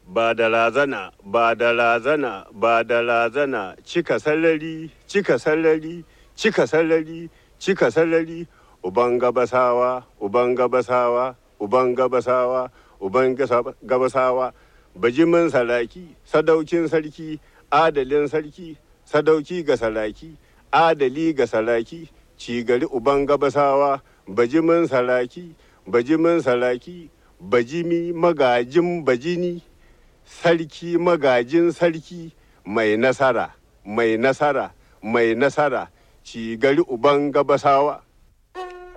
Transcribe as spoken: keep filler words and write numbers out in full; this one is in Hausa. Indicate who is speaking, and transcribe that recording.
Speaker 1: Ba da razana, ba da razana, ba da razana, cika sarari, cika sarari, cika sarari, cika sarari, uban gabasawa, uban gabasawa, uban gabasawa, uban gabasawa, bajimin saraki, sadaukin sarki, adalin sarki, sadauki ga saraki, adali ga saraki, cigari uban gabasawa, bajimin saraki, bajimin saraki, bajimi magajin bajini, sarki magajin sarki, mai nasara, mai nasara, mai nasara, cigari uban gabasawa.